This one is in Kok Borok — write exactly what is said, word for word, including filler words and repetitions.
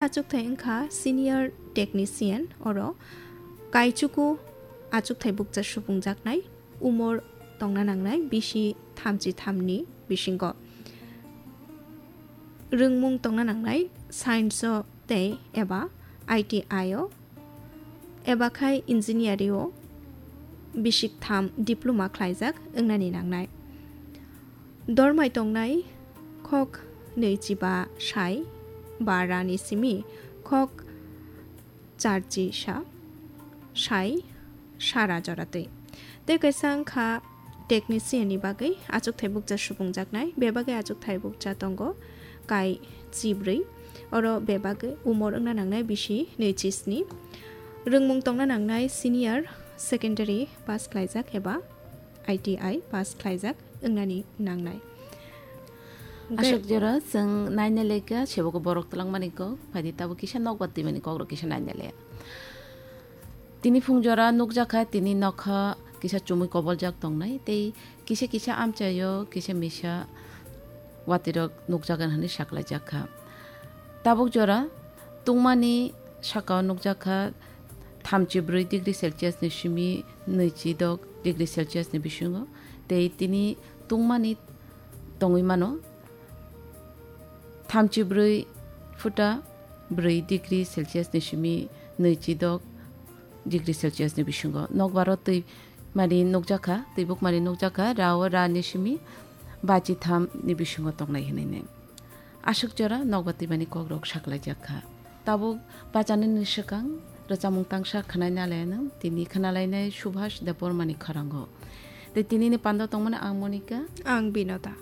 Achukthai wngkha senior technician, oro kaichuku achukthai bukcha supungjak nai, umor tongna nangnai bisi thamchi thamni bisingo. Rwngmung tongna nangnai science o tei eba I T I o, eba khai engineering o bisik tham diploma khlaijak wngnani nangnai. Dormai tongnai khok nwichi ba sai ba rani simi khok charchi sa sai sara jora twi. Tei kaisa wngkha technician ni bagwi achukthai bukcha supungjak nai, bebagwi achukthai bukcha tongo kai chibrwi. Oro bebagwi umor wngna nangnai bisi nwichi sni. Rwngmung tongna nangnai senior secondary pass khlaijak eba I T I pass khlaijak wngnani nangnai. Aswk jora chwng naina lekha, sebo khe borok twlangmani kok, phaidi tabuk kisa nokbar twimani kokrok kisa naina le. Tini phung jora nukjakha, tini nokha kisa chumui koboljak tongnai, tei kisa kisa amchaio kisa misa watirok nukjagan hwnwi saklaijakha. Tabuk jora tungmani sakao nukjakha thamchi brwi degree Celsius ni simi nwichi dok degree Celsius ni bisingo, tei tini tungmani tongwi mano thamchi brwi futa brwi degree Celsius ni simi nwichi dok degree Celsius ni bisingo. Nokbaro twi mari nukjakha, twi bukmari nukjakha, rao ra ni simi bachi tham ni bisingo tongnai hinwi nai. Aswk jora nokbar twimani kokrok saklaijakha. Tabuk bachanini swkang rwchapmung tangsa khwnai nalainw, tini khwnalainai Subhas Debbarmani khorangwi. Tei tinini pando tongmani ang Monika. Ang Binoda.